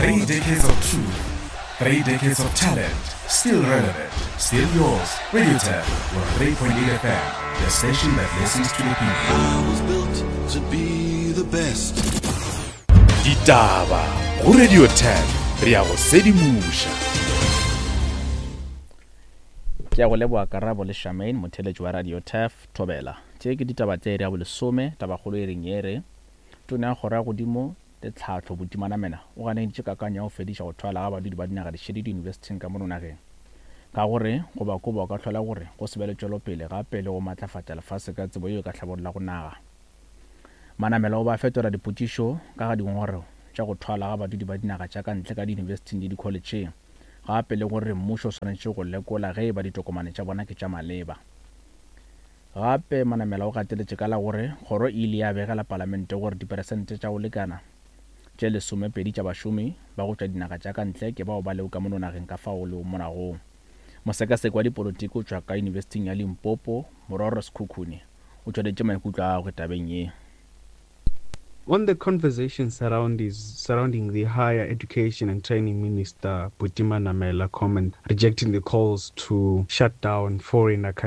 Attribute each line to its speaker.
Speaker 1: Three decades of truth, three decades of talent, still relevant, still yours. Radio 10, 103.8 FM, the station that listens to the people.
Speaker 2: I was built to be the best.
Speaker 1: Ditaba go Radio 10, re ya go sedimoša.
Speaker 3: Ke a go leboga Karabo le Charmaine, motheeletši wa Radio Turf, Thobela. Tše ke ditaba tša iri ya bolesome, tabakgolo e reng ye re, Tona ya Kgoro ya Godimo le Tlhahlo, Buti Manamela, o ganeditše kakanyo ya go fediša go thwala ga badudi ba dinaga dišele diyunibesithing ka mono nageng. Ka go re go ba koba go ka hlola gore go se be le tšwelopele gape le go matlafatša lefase ka tsebo yeo e ka hlabollago naga. Manamela o ba fetola dipotšišo ka ga dingongorego tša go thwala ga badudi ba dinaga tša ka ntle ka diyunibesithing le dikholetšheng gape le gore mmušo o swanetše go lekola ge e ba ditokomane tša bona ke tša maleba. Gape Manamela o gateletše ka la gore kgoro e ile ya begela palamente gore diperesente tša go lekana tše lesomepedi tša bašomi ba go tšwa dinaga tša ka ntle ke bao ba lego ka mono nageng ka fao lego monagong. Mosekaseki wa dipolotiki o tšwa ka Yunibesithing ya Limpopo, Mororo Sekhukhune, o tšweleditše maikutlo a gagwe tabeng ye.
Speaker 4: On the conversation surrounding the Higher Education and Training Minister Buti Manamela comment rejecting the calls to shut down foreign academics.